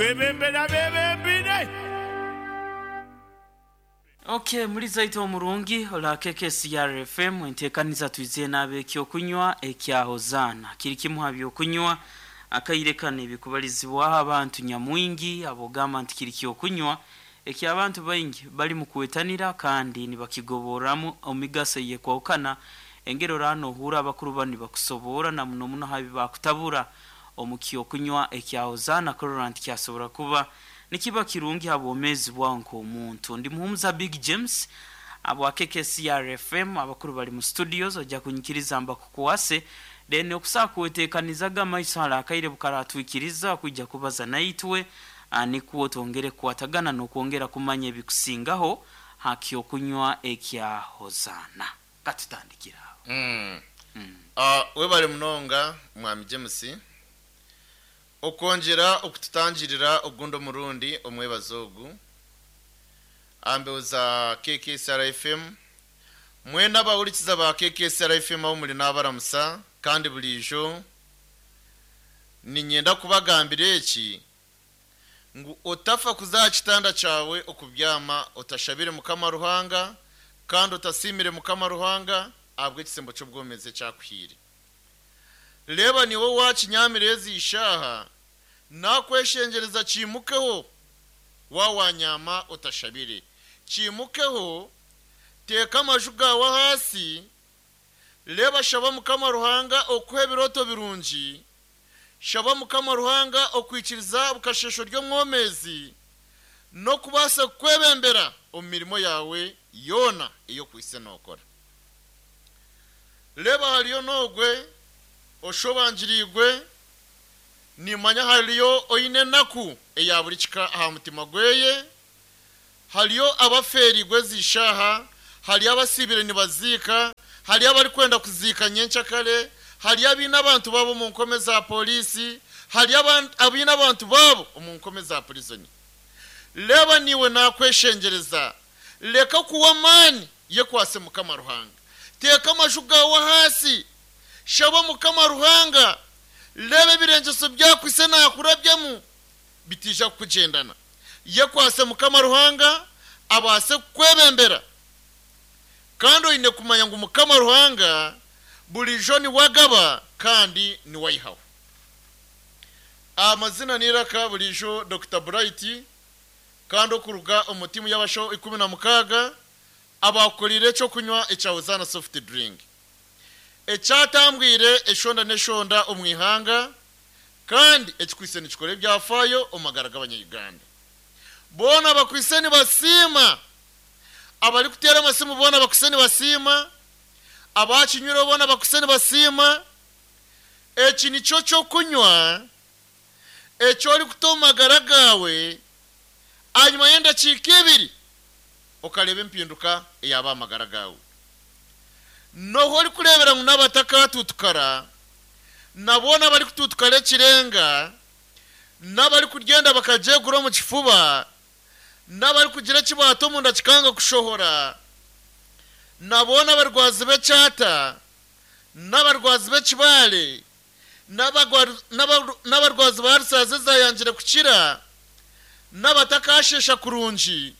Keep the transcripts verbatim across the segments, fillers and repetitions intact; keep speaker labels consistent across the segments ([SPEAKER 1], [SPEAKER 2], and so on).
[SPEAKER 1] Barikwebembera bebembire.
[SPEAKER 2] Okay, muri zaito omurungi ola K K C R F M, entekaniza twize nabe ekyokunywa ekya Hozana kiri kimu ha byokunywa akaire kane bikubalizibwaho abantu nyamwingi, abogamba nti kiri kyokunywa ekyabantu baingi bali mu kwetanira kandi nibakigoboramu omigaso yekwawukana. Engero rano ohura abakuru bani bakusobora na muno muno habi bakutabura omu kyokunywa ekya Hozana kurora nti kyasobora kuba nikiba kirungi habwomezi bwawe nk'omuntu. Ndi Muhumuza Big James abwa K K C R F M. Abakuru bali mu studios, ojja kunyikiriza mbakukwase, then okusaa kwetekanizaga amaiso hala akaire bukaratwikiriza kwijja kubaza naitwe, ah, nikwo twongere kukwatagana n'okwongera kumanya ebikusingaho ha kyokunywa ekya Hozana. Katutandikira aho.
[SPEAKER 3] Mm. Ah, webale munonga, mwami James, okwongera okututangirira ogundi omurundi omwebazo ogu ambeho za K K C R F M. Mwena abahurikiza ba K K C R F M aho muri, n'abaramusa, kandi burijo ninyenda kubagambira eki ngu otafa kuza kitanda cyawe okubyama otashabire Mukama Ruhanga kandi otasimire Mukama Ruhanga ahabwa ekisembo cy'obwomezi ekyakuhiire. Reba, niwe wakinyamire ezi ishaha, nakweshengereza kimukeho. Wawanyama otashabire, kimukeho, teeka amaju gawe hasi. Reba, shaba Mukama Ruhanga okuha ebiroto birungi, shaba Mukama Ruhanga okwikiriza bukashesho ry'omwomezi n'okubaasa kukwebembera omu mirimo yawe yoona ey'okwise nookora. Reba, hariyo n'ogwe oshobangiriigwe, nimanya hariyo oine enaku eya buri kika aha mutima gweye, hariyo abaferigwe ezishaha, hariyo abasibire nibaziika, hariyo abarikwenda kuziika nyenkyakare, hariyo abaine abantu babo omu nkome za polisi, hariyo aban- abaine abantu babo omu nkome za prison. Reba, niwe nakweshengereza, leka kuwa amaani, yekwase Mukama Ruhanga, teeka amaju gawe hasi, shaba Mukama Ruhanga. Reba, ebirengeso byakwise nakurabyemu bitija kukugendana. Yekwase Mukama Ruhanga abaase kukwebembera, kandi oine kumanya ngu Mukama Ruhanga burijo niwagaba kandi niwayihaho. Amazina niraka burijo Doctor Bright, kandi okuruga omu timu y'abashaho ikumi na mukaaga abakorire ekyokunywa ekya Hozana soft drink ekyatambwire eshonda n'eshonda omu ihanga, kandi ekikwise nikikora ebyafaayo omu magara g'Abanyayuganda boona. Bakwise nibasiima, abarikuteera amasimu boona bakwise nibasiima, abakinywireho boona bakwise nibasiima. Eki nikyo kyokunywa ekyo orikuta omu magara gaawe, hanyuma y'endakiika ibiri okareeba empinduka eyaba amagara gaawe. Noho orikureebera ngu n'abatakatutukara nabona abarikututukara ekirenga, n'abarikugyenda bakagyegura omu kifuba, n'abarikugira ekibaata omunda kikanga kushohora, nabona abarwazi b'ekyata, n'abarwazi b'ekibaare, n'abagwaru- n'abaru- n'abarwazi ba rusaazi ezayangire kukira, n'abatakashesha kurungi,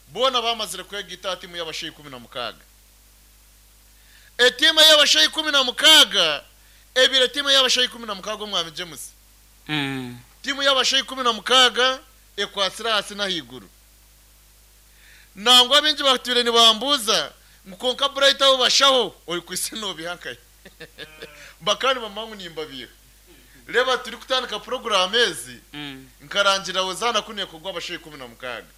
[SPEAKER 3] boona bamazire kwega ita timu y'abashaija ikumi na mukaaga. Etiimu y'abashaija ikumi na mukaaga ebiri, etiimu y'abashaija ikumi na mukaaga, omwami James,
[SPEAKER 2] Mm.
[SPEAKER 3] tiimu y'abashaija ikumi na mukaaga ekwatsire hasi n'ahaiguru. Nangwa bingi batwire nibambuuza ngu konka Bright, abo bashaho ori kwise nobihankaye bakandi bamanya ngu nimbabiha. Reba, turi kutandika porogaramu ezi,
[SPEAKER 2] Mm.
[SPEAKER 3] nkarangira Hozana kunekorwa abashaija ikumi na mukaaga.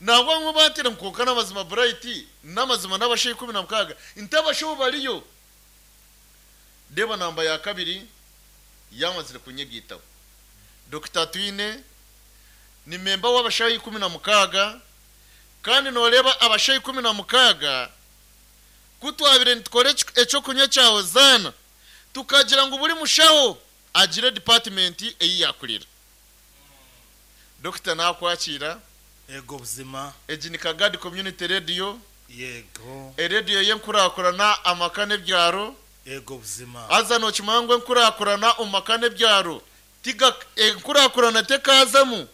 [SPEAKER 3] Nangwa bamwe bantera ngu konka n'amazima, Bright, n'amazima n'abashaija ikumi na mukaaga, nti abashaho bariyo. Reba, namba ya kabiri yamazire kunyegitaho. Doctor Twine ni member w'abashaho ikumi na mukaaga, kandi nooreba abashaho ikumi na mukaaga kutwabire nitukora eki- ekyokunywa kya Hozana, tukagira ngu buri mushaho agire department eyi yakurira. Dokita, nakwakira.
[SPEAKER 4] Ego buzima.
[SPEAKER 3] Egi ni Kagadi Community Radio,
[SPEAKER 4] yego
[SPEAKER 3] erediyo y'enkurakurana amaka n'ebyaro.
[SPEAKER 4] Ego buzima.
[SPEAKER 3] Haza nokimanya ngu enkurakurana omu maka n'ebyaro Tiga enkurakurana tekazamu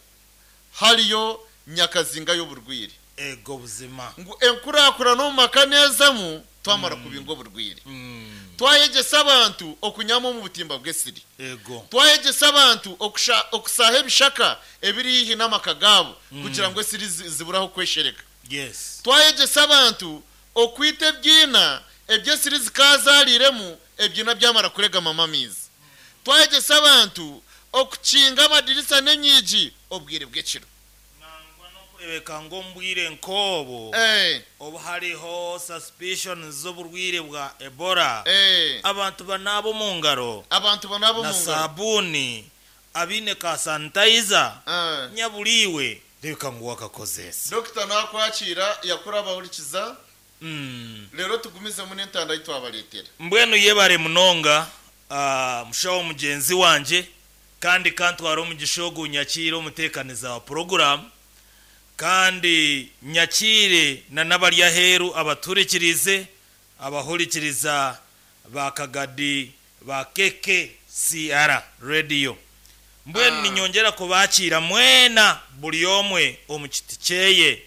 [SPEAKER 3] hariyo nyakazinga y'oburwire.
[SPEAKER 4] Ego buzima.
[SPEAKER 3] Ngu enkurakurana omu maka nezamu twamara kubinga oburwire.
[SPEAKER 4] Mm.
[SPEAKER 3] Twayegesa abantu okunyama omu butimba bw'esiri.
[SPEAKER 4] Ego.
[SPEAKER 3] Twayegesa abantu okusha okusaha ebishaka ebiri hihi n'amaka gaabo kugira ngu esiri zi- ziburaho kweshereka.
[SPEAKER 4] Yes.
[SPEAKER 3] Twayegesa abantu okwita ebyina ebyesiri zikazariremu ebyina byamara kuregama amamizi. Twayegesa abantu okukinga amadirisa n'enyigi obwire bw'ekiro.
[SPEAKER 4] Nangwa n'okurebeka ng'ombwire nk'obwo
[SPEAKER 3] Eh,
[SPEAKER 4] obu hariho suspicion z'oburwire bwa Ebola,
[SPEAKER 3] eh,
[SPEAKER 4] abantu banaaba omu ngaro
[SPEAKER 3] abantu banabo
[SPEAKER 4] na
[SPEAKER 3] mu ngaro.
[SPEAKER 4] sabuni abiine ka sanitizer
[SPEAKER 3] Eh.
[SPEAKER 4] nyaburiwe reka ngu wakakozesa.
[SPEAKER 3] Dokita nakwakira yakura abahurikiza.
[SPEAKER 4] Mm.
[SPEAKER 3] Rero tugumizemu n'entanda yitwabaletera.
[SPEAKER 4] Mbwenu yebare munonga, ah, mushaho mugenzi wanje, kandi kantwara omugisha ogu nyakiire omuteekaniza wa poroguramu, kandi nyakiire na n'abari aheeru abaturikirize abahurikiriza ba Kagadi ba K K C R Radio. Mbwenu
[SPEAKER 3] Ah.
[SPEAKER 4] ninyongera kubakiira mwena buri omwe omu kiti kyeye.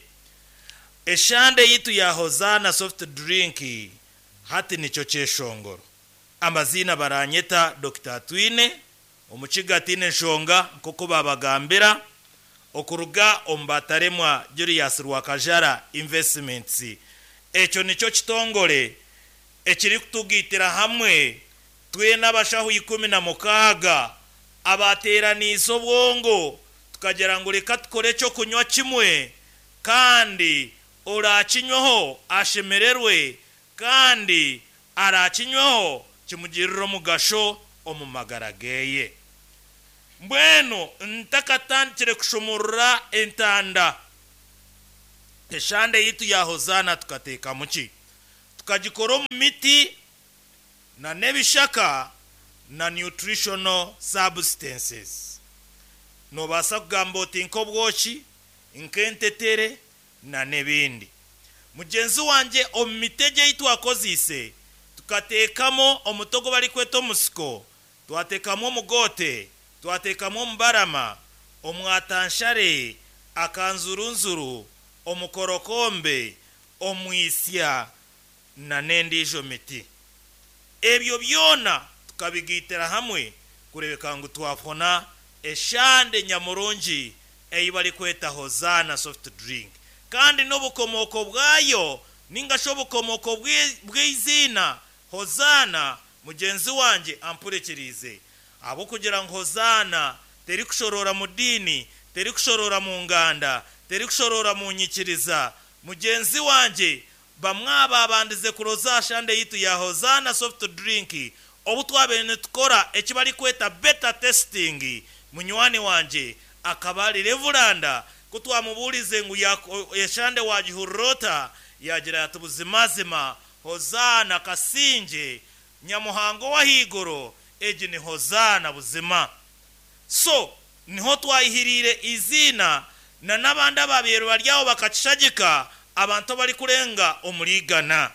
[SPEAKER 4] Eshande yitu ya Hozana soft drink hati nicyo kyeshongoro. Amazina baranyeta Doctor Twine omukiga atine nshonga, nk'oku babagambira okuruga omu bataremwa Julius Rwakajara Investments. Ekyo nicyo kitongore ekiri kutugitira hamwe twena abashaho ikumi na mukaaga abateraniise obwongo, tukagira ngu reka tukore ekyokunywa kimwe, kandi orakinywaho ashemererwe, kandi arakinywaho kimugirire omugasho omu magara geye. Mbwenu ntakatandikire kushumurura entanda, eshande yitu ya Hozana tukateekamu ki? Tukagikora omu miti na n'ebishaka na nutritional substances. Nobaasa kugamba oti nk'obwoki, nk'entetere na n'ebindi. Mugenzi wanje, omu miti ei twakoziise tukateekamo omutogo barikweta omusiko, twateekamu omugote, twateekamu omubarama, omwatanshare, akanzurunzuru, omukorokombe, omwisya na n'endiijo miti. Ebyo byona tukabigitira hamwe kurebeka ngu twafuna eshande nyamurungi ei barikweta Hozana soft drink. Kandi n'obukomoko bwayo ninga shi obukomoko bw'i- bw'iziina Hozana, mugenzi wanje ampurekirize, abo kugira ngu Hozana teri kushorora mu dini, teri kushorora mu nganda, teri kushorora mu nyikiriza. Mugenzi wanje, bamwe ababandize kuroza shande yitu ya Hozana soft drink obu twabaire nitukora eki barikweta beta testing, munywani wanje akaba ari reverend, ko twamubuurize ngu yako- eshande wagihurira ota, yagira ati buzimazima Hozana kasinge nyamuhango w'ahiguru, egi ni Hozana buzima. So niho twayihirire izina, na n'abandi ababeere baryaho bakakishagika, abantu bari kurenga omurigana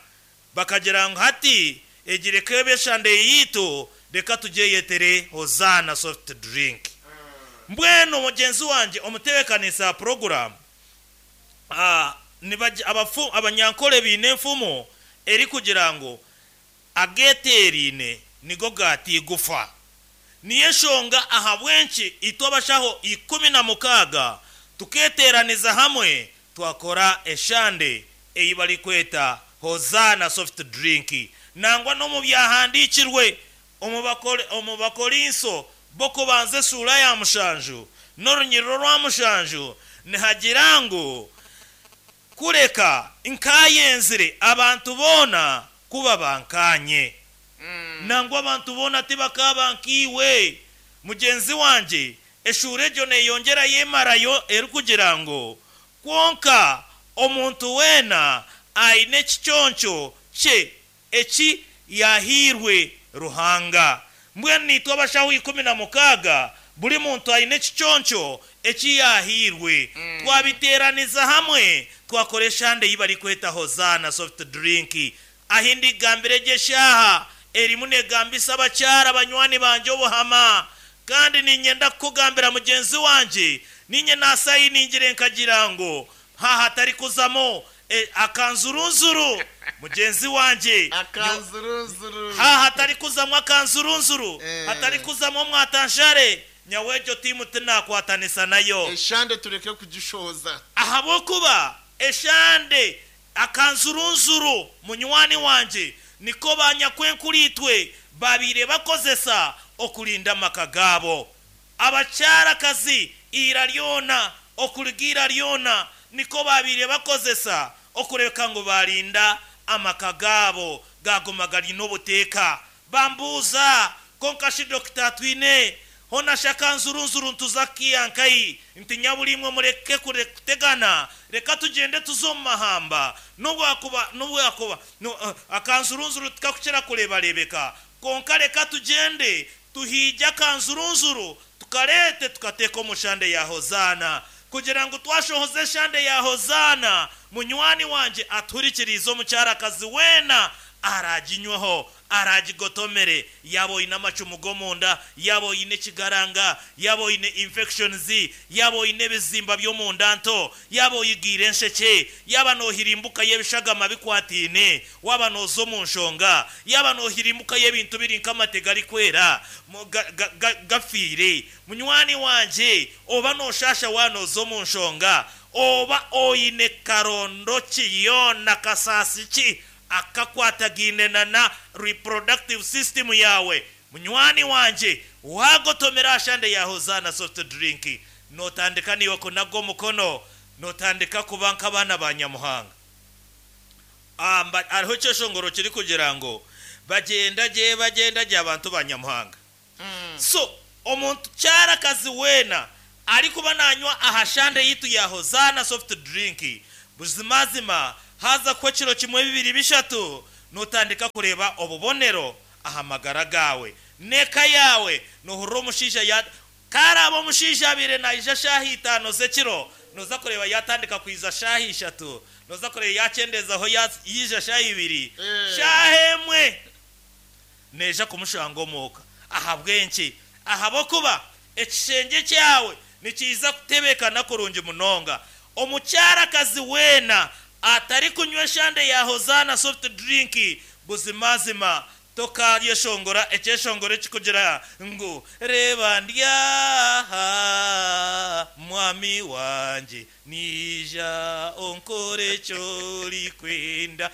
[SPEAKER 4] bakagira ngu hati egi reka ebe eshande yitu, reka tugyeyetere Hozana soft drink. Mbwenu mugenzi wanje omutebekanisa poroguramu, ah, nibaji- abafu abanyankole biine enfumo eri kugira ngu ageterine nigo gatigufa. Niyo enshonga ahabwenki itwe abashaho ikumi na mukaaga tuketeraniza hamwe twakora eshande ei barikweta Hozana soft drink. Nangwa n'omu byahandikirwe omu Bakore- omu Bakorinso bokubanza esura ya mushanju n'orunyiriro rwa mushanju nihagira ngu kureka nkayenzire abantu boona kuba bankanye. Nangwa abantu boona tibakaba nkiwe. Mugenzi wanje, eshuura egyo neyongera yemarayo erikugira ngu kwonka omuntu weena aine ekiconco kye eki yahiirwe Ruhanga. Mbwenu nitwe abashaho ikumi na mukaaga, buri muntu aine ekiconco eki yahiirwe, twabiteraniza hamwe twakora eshande ei barikweta Hozana soft drink. Ahindi gambire gyeshaha erimu negambisa abakyara banywani banje obuhama. Kandi ninyenda kukugambira mugenzi wanje, ninye nasayiningire nkagira ngo haha kuzamo e, akanzurunzuru mugenzi wanje
[SPEAKER 3] akanzurunzuru
[SPEAKER 4] haha hatari kuzamo akanzurunzuru
[SPEAKER 3] Eh.
[SPEAKER 4] hatari kuzamo mwatanshare nyawejo timu tinakwatanisa nayo
[SPEAKER 3] eshande tureke kugishoza
[SPEAKER 4] ahabwokuba eshande akanzurunzuru munywani wanje niko banyakwenkuritwe babire bakozesa okulinda amaka gabo. Abakyarakazi ira lyona okuligira lyona niko babire bakozesa okureka ngu balinda amaka gabo gaguma galina obuteeka. Bambuuza konka shi Dokita Twine hona shaka nzurunzuru ntuzakiyankayi nti nyabulimwe mureke kure kutegana, reka tugende tuzo mu mahamba nubwakuba nubwakuba no, uh, akanzurunzuru tukakukira kurebarebeka konka reka tugende tuhijya akanzurunzuru tukarete tukateka omushande ya Hozana kugira ngo twashohoze shande ya Hozana munywani wanje aturikirize omukyarakazi wena araginywaho aragigotomere yaba oyine amacumu g'omunda, yaba oyine ekigaranga, yaba oyine infections, yaba oyine ebizimba by'omunda nto, yaba oyigiire ensheke, yaba nohirimbuka y'ebishagama bikwatiine, waba noza omu nshonga, yaba nohirimbuka y'ebintu biri nk'amate garikwera gafiire. Munywani wanje oba noshasha wanoza omu nshonga, oba oyine karondo ki yona kasasi ki akakwatagine na reproductive system yawe, munywani wanje wagotomera ashande ya Hozana soft drink notandika niwe kunago mukono notandika kuba nk'abana ba Nyamuhanga. Amba ariho kyeshongoro kiri kugira ngo bagenda je bagenda je abantu ba Nyamuhanga. Mm. So omuntu kyarakazi wena ari kuba nanywa ahashande yitu ya Hozana soft drink buzimazima haza ko kiro kimwe bibiri bishatu notandika kureba obubonero ahamagara gawe neka yawe nohurra omushaija ya karaba omushaija abire naija shahi itano zekiro noza kureba yatandika kwiza shahi ishatu noza kureba yakyendezaho yija shahi ibiri shahi emwe neja kumushanga omuka ahabwenki ahabokuba ekishenge kyawe nikiza kutebekana kurungi munonga. Omukyarakazi wena atari kunywa eshande ya Hozana soft drink buzimazima tokaryeshongora ekyeshongoro ekikugira ngu reba ndyaha mwami wanje nija onkore kyori kwenda.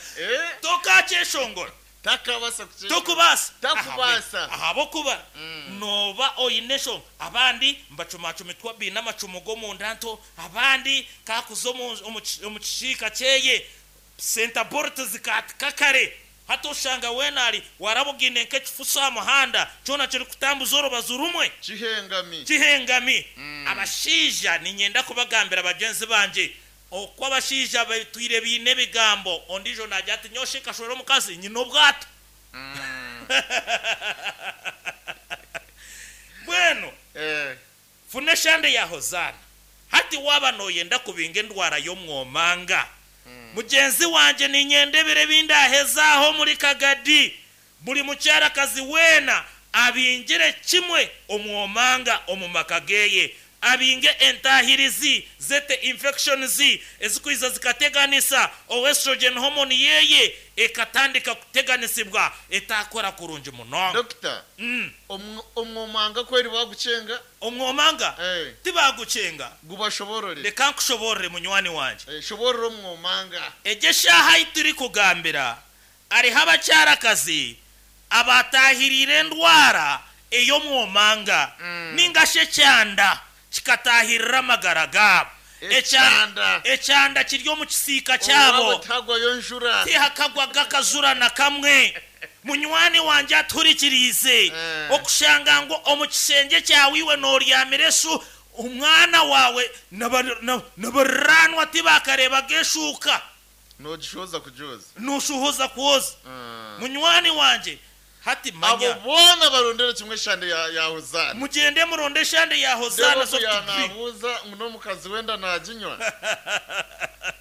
[SPEAKER 4] Tokakyeshongora
[SPEAKER 3] takabasa
[SPEAKER 4] tokubasa
[SPEAKER 3] takubasa
[SPEAKER 4] ahabokuba mm. Noba oyine abandi mbacumacumitwa bina amacumu g'omunda nto abandi kakuza omu kishika kyeye center bolt zikatika kare hatoshanga wenali warabugine nk'ekifuso aha muhanda kyona kiri kutambuza orubazu rumwe
[SPEAKER 3] kihengami
[SPEAKER 4] kihengami. Mm. Abashaija ninyenda kubagambira bagenzi banje okwo abashaija batwire biine ebigambo ondijo najya ati nyoshe kashora omukazi nyina obwato. Mm. Bweno
[SPEAKER 3] eh.
[SPEAKER 4] Funa eshande ya Hozana hati waba noyenda kubinga endwara y'omwomanga. Mm. Mugenzi wanje ninyendebere bindahezaho muri Kagadi buri mukyarakazi wena abingire kimwe omwomanga omu maka geye abinge entahirizi zete infections ezikwiza zikateganisa o estrogen hormone yeye ekatandika kuteganisibwa etakora kurungi munonga.
[SPEAKER 3] Doctor,
[SPEAKER 4] mm.
[SPEAKER 3] omwomanga kweri bagucenga
[SPEAKER 4] omwomanga
[SPEAKER 3] hey.
[SPEAKER 4] Tibagucenga
[SPEAKER 3] gubashoborore
[SPEAKER 4] reka nkushoborere munywani wanje
[SPEAKER 3] hey, shoborere omwomanga
[SPEAKER 4] eje shaha ituri kugambira ariho abakyarakazi abatahirire endwara ey'omwomanga
[SPEAKER 3] mm.
[SPEAKER 4] ningashe kyanda kikatahirira amagara gabo
[SPEAKER 3] ekyanda
[SPEAKER 4] ekyanda kiri omu kisiika kyabo
[SPEAKER 3] tagwayo njura
[SPEAKER 4] tihakagwaga akazura na kamwe. Munywani wanje aturikirize
[SPEAKER 3] eh.
[SPEAKER 4] Okushanga ngo omu kisenge kyawe iwe noryamire eshu omwana wawe nabaranwa tibakarebaga eshuka
[SPEAKER 3] nogishoza kujoza
[SPEAKER 4] noshuhoza kwoza.
[SPEAKER 3] Mm.
[SPEAKER 4] Munywani wanje Hati
[SPEAKER 3] Abo
[SPEAKER 4] manya
[SPEAKER 3] boona barondere kimwe eshande ya, ya Hozana.
[SPEAKER 4] Mugende muronde eshande ya Hozana soft drink.
[SPEAKER 3] Yanabuuza ngu n'omukazi wenda naginywa.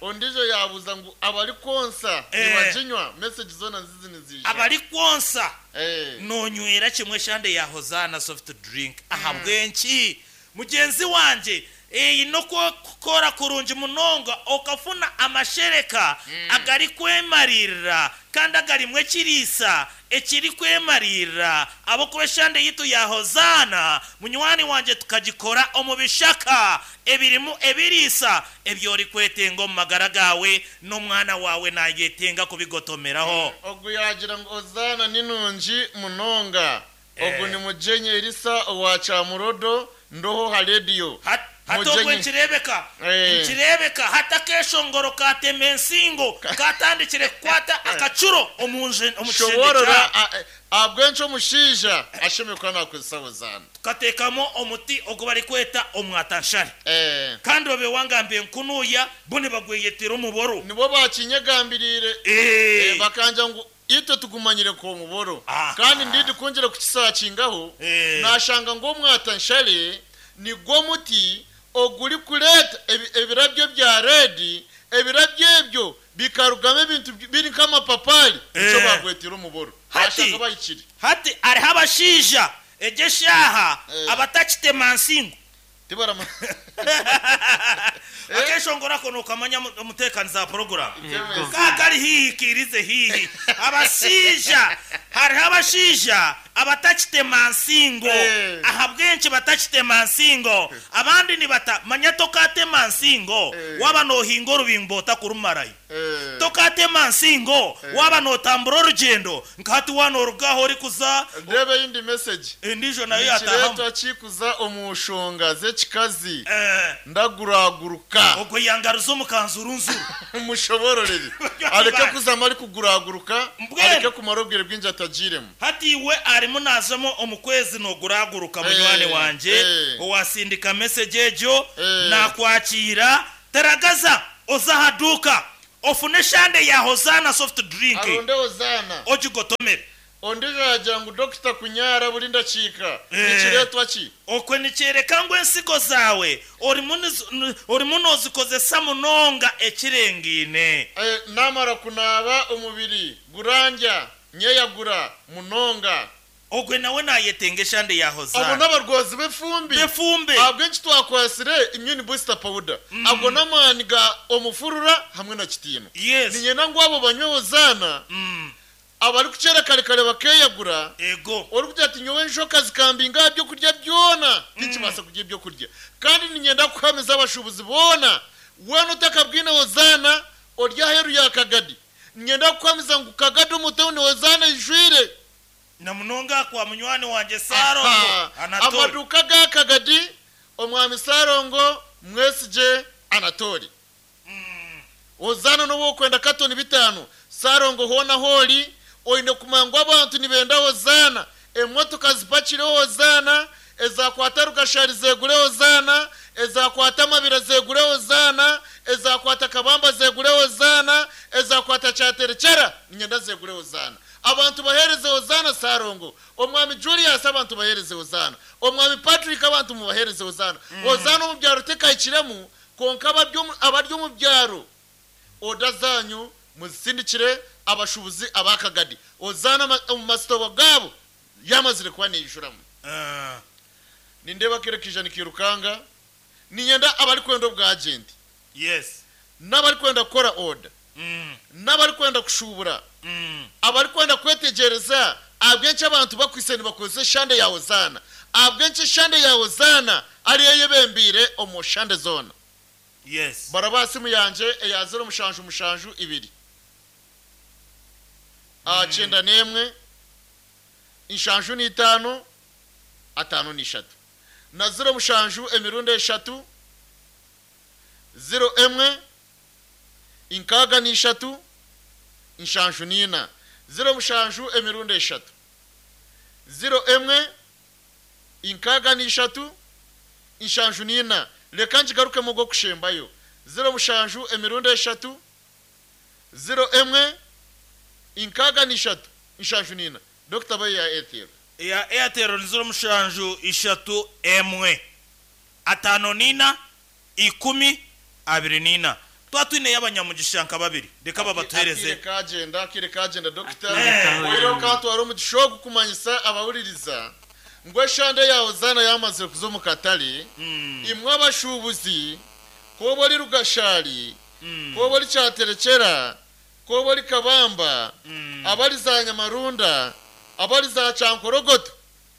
[SPEAKER 3] Ondijo yabuuza ngu abari konsa
[SPEAKER 4] Eh.
[SPEAKER 3] nibaginywa. Message zona nzizi nizija.
[SPEAKER 4] Abari konsa
[SPEAKER 3] Eh.
[SPEAKER 4] nonywera kimwe eshande ya Hozana soft drink. Ahabwenki mugenzi wanje eyi nokwo kukora kurungi munonga okafuna amashereka agari kwemarira kandi agarimwe ekiriisa ekiri kwemarira abo kuba eshande yitu ya Hozana munywani wanje tukagikora omu bishaka ebirimu ebiriisa ebyori kwetenga omu magara gawe n'omwana wawe nayetenga kubigotomeraho.
[SPEAKER 3] Ogu yagira ngu Hozana ni nungi munonga. Ogu
[SPEAKER 4] Eh.
[SPEAKER 3] ni mujenye Elisa owa Kyamurodo ndoho ha radio.
[SPEAKER 4] Hat- hati ogwe nkirebeka
[SPEAKER 3] Eh.
[SPEAKER 4] nkirebeka hati akeshongoro katema ensingo katandikire kukwata akacuro omu nje- omu kishenge
[SPEAKER 3] Shoborora
[SPEAKER 4] kya
[SPEAKER 3] a- a- abwenki omushaija ashemeye kuba nakozesa Hozana.
[SPEAKER 4] tukateekamu omuti ogu barikweta omwatanshare
[SPEAKER 3] Eh.
[SPEAKER 4] kandi babe wangambe nkunuya bo nibagweyetera omuboro.
[SPEAKER 3] Nibo bakinyegambiriire.
[SPEAKER 4] Eh.
[SPEAKER 3] Eh, bakanja ngu itwe tugumanyire ko muboro.
[SPEAKER 4] Ah.
[SPEAKER 3] Kandi ndidi kungira kukisakingaho
[SPEAKER 4] Eh.
[SPEAKER 3] nashanga ngo omwatanshare nigwo muti oguri kuleta ebi- ebirabyo bya redi, ebirabyo ebyo bikarugamu ebintu bi- biri nk'amapapari nicyo
[SPEAKER 4] Eh.
[SPEAKER 3] bagwetera omuboro.
[SPEAKER 4] Hati.
[SPEAKER 3] Bashanga bayikiri.
[SPEAKER 4] Hati hariho abashaija egyo eshaaha
[SPEAKER 3] Eh.
[SPEAKER 4] abatakitema nsingo.
[SPEAKER 3] Tibarama.
[SPEAKER 4] Akeshongora ko nokamanya omutekani za poroguramu
[SPEAKER 2] Yego.
[SPEAKER 4] kakari hihi kirize hihi abashaija hariho abashaija abatakitema nsingo.
[SPEAKER 3] Eh.
[SPEAKER 4] Ahabwenki batakitema nsingo abandi nibata manya tokatema nsingo
[SPEAKER 3] Eh.
[SPEAKER 4] waba nohinga orubimbo otakurumarayo.
[SPEAKER 3] Eh.
[SPEAKER 4] Tokatema nsingo waba notambura orugendo nkahati wanorugaho orikuza.
[SPEAKER 3] Ndebe yindi message.
[SPEAKER 4] Endijo nayo yatahamu.
[SPEAKER 3] Nikireetwa kikuza omu nshonga z'ekikazi
[SPEAKER 4] Eh,
[SPEAKER 3] ndaguraguruka.
[SPEAKER 4] Ogwo yangaruza omukanzu urunzuru.
[SPEAKER 3] Mushobororere areke kuzama ari kuguraguruka.
[SPEAKER 4] Mbwenu.
[SPEAKER 3] Areke kumara obwire bwingi atagiremu.
[SPEAKER 4] Hati iwe arimu nazamo omu kwezi noguraguruka munywani
[SPEAKER 3] Eh,
[SPEAKER 4] wanje
[SPEAKER 3] eh.
[SPEAKER 4] owasindika message egyo
[SPEAKER 3] Eh.
[SPEAKER 4] nakwakira teragaza oza haduka ofune eshande ya Hozana soft drink.
[SPEAKER 3] Aronde Hozana.
[SPEAKER 4] Ogigotomere.
[SPEAKER 3] Ondijo yagira ngu dokita kunyara buri ndakiika
[SPEAKER 4] Eh.
[SPEAKER 3] nikireetwa ki?
[SPEAKER 4] Okwe nikyereka ngu ensigo zaawe orimu nizo- n- orimu nozikozesa munonga ekirengiine.
[SPEAKER 3] Eh, namara kunaaba omubiri gurangya nyeyagura munonga.
[SPEAKER 4] Ogwe nawe nayetenga eshande ya
[SPEAKER 3] Abo
[SPEAKER 4] Hozana.
[SPEAKER 3] n'abarwazi b'efumbi.
[SPEAKER 4] Befumbe.
[SPEAKER 3] Ahabw'enki twakwasire immune booster powder ago n'amaani ga omufurura hamwe na kitiino.
[SPEAKER 4] Yes.
[SPEAKER 3] Ninyenda ngu abo banywe Hozana
[SPEAKER 4] Mm.
[SPEAKER 3] abari kukyera kare kare bakeyagura.
[SPEAKER 4] Ego.
[SPEAKER 3] Ori kugira ati nyowe enshoka zikambinga byo kurya byona tinkibasa kurya ibyo kurya. Kandi ninyenda kuhamiza abashubuzi boona wena otakabwine Hozana ori aheru ya Kagadi, ninyenda kuhamiza ngu Kagadi omu tawuni Hozana ijwire.
[SPEAKER 4] Na munonga kwa munywani wanje Sarongo
[SPEAKER 3] Aha.
[SPEAKER 4] Anatoli.
[SPEAKER 3] Amaduka ga Kagadi omwami Sarongo Mwesije Anatoli. Hozana noba okwenda katoni bitano Sarongo hoona hori oine kumanya ngu abantu nibenda Hozana, emotoka zipakire Hozana, ezakwata Rugashari zegure Hozana, ezakwata Amabira zegure Hozana, ezakwata Kabamba zegure Hozana, ezakwata Kyaterekyera ninyenda zegure Hozana. Abantu bahereze Hozana. Sarongo omwami Julius, abantu bahereze Hozana. Omwami Patrick, abantu mubahereze Hozana. Hozana omu byaro tekahikiremu konka abari omu- abari omu byaro oda zanyu muzisindikire abashubuzi abakagadi. Hozana ma- omu masitobo gabo yamazire kuba niyijuramu.
[SPEAKER 4] Ah.
[SPEAKER 3] Nindeba kereka ijana ikirukanga ninyenda abari kwenda obwagenti
[SPEAKER 4] Yes.
[SPEAKER 3] n'abari kwenda kukora oda
[SPEAKER 4] Mm.
[SPEAKER 3] n'abari kwenda kushubura
[SPEAKER 4] Mm.
[SPEAKER 3] abari kwenda kwetegereza ahabw'enki abantu bakwise nibakozesa eshande ya Hozana, ahabw'enki eshande ya Hozana ariyo yebembiire omu shande zoona.
[SPEAKER 4] Yes.
[SPEAKER 3] Baraba simu yanje eya zero mushanju mushanju ibiri mm. Kyenda n'emwe inshanju n'itaano atano n'ishatu na zero mushanju emirundi eshatu zero emwe inkaaga n'ishatu inshanju n'ina zero mushanju emirundi eshatu zero emwe inkaaga n'ishatu inshanju n'ina. Reka nkigarukemu gwo kushembayo zero mushanju emirundi eshatu zero emwe inkaaga n'ishatu inshanju n'ina. Dokita, bayi ya Airtel.
[SPEAKER 4] Eya Airtel ni ziro mushanju ishatu emwe atano nina ikumi abiri nina. Twatwine y'abanyamugisha nka babiri, reka babatuhereze.
[SPEAKER 3] Akire kagenda, akire kagenda, dokita.
[SPEAKER 2] Akire kagenda.
[SPEAKER 3] Oireho kantwara omugisha ogu kumanyisa abawuliriza ngu eshande yawe zana yamazire kuza omu katare.
[SPEAKER 4] Mm,
[SPEAKER 3] imwe abashubuzi, koba ori Rugashari,
[SPEAKER 4] mm,
[SPEAKER 3] koba ori Kyaterekyera, koba ori Kabamba,
[SPEAKER 4] mm,
[SPEAKER 3] abari za Nyamarunda, abari za Cyankorogoto,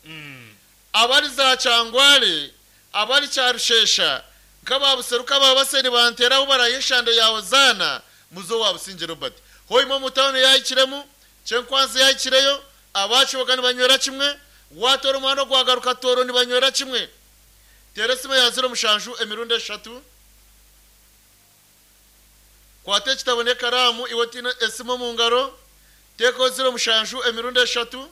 [SPEAKER 4] mm.
[SPEAKER 3] abari za Cyangware, abari Cyarushesha, nk'ababuseruka babaseni banteraho baraye eshande yawe zana muzo Wabusinge Robert. Hoima mutawuni yahikiremu, Kyenkwanzi yahikireyo, abakiboga nibanywera kimwe, watora umuhanda gwagaruka Toro nibanywera kimwe. Tera esimu ya ziro mushanju emirundi eshatu. Kwata ekitabo n'ekaramu, iwe tiine esimu omu ngaro, teekaho ziro mushanju emirundi eshatu,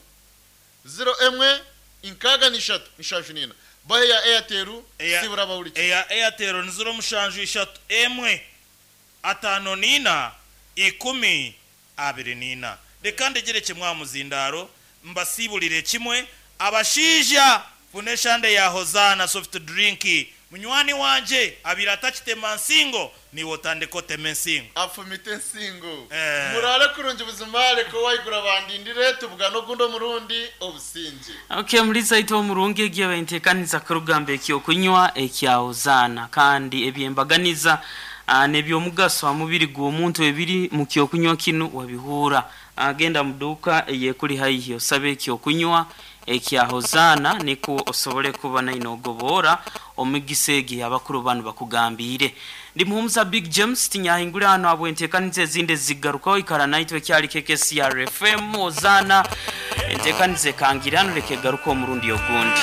[SPEAKER 3] ziro emwe inkaaga n'ishatu nshanju nina. Bahe ya Airtel.
[SPEAKER 4] Eya-
[SPEAKER 3] Sibura abawurikiye.
[SPEAKER 4] Eya Airtel ni ziro mushanju ishatu emwe atano nina ikumi abiri nina. Reka ndegere kimwe aha muzindaro, mbasibulire kimwe. Abashiija, funa eshande ya Hozana soft drink. Munywani wanje abiri atakitema nsingo, niwe otandika otema ensingo.
[SPEAKER 3] Afumite ensingo.
[SPEAKER 4] Eh.
[SPEAKER 3] Murare kurungi buzima, reka wayigura bandindire tubugana ogundi omurundi obusinge.
[SPEAKER 2] Okay, mulisa ito omurungi egiye baintekaniza kurugamba ekyokunywa ekya Hozana, kandi ebyembaganiza ah, n'ebyomugaso ha mubiri gw'omuntu ebiri mu kyokunywa kinu wabihura. Agenda mu duka eyekuli haihi, osabe ekyokunywa ekya Hozana, niko osobole kuba nainogobora omugisa egi abakuru banu bakugambire. Ndi Muhumuza Big James, tinyahingura hano habwentekaniza ezindi zigarukaho. Ikara naitwe, kyali K K C R F M. Hozana entekaniza ekangirano, leka egaruka omurundi ogundi.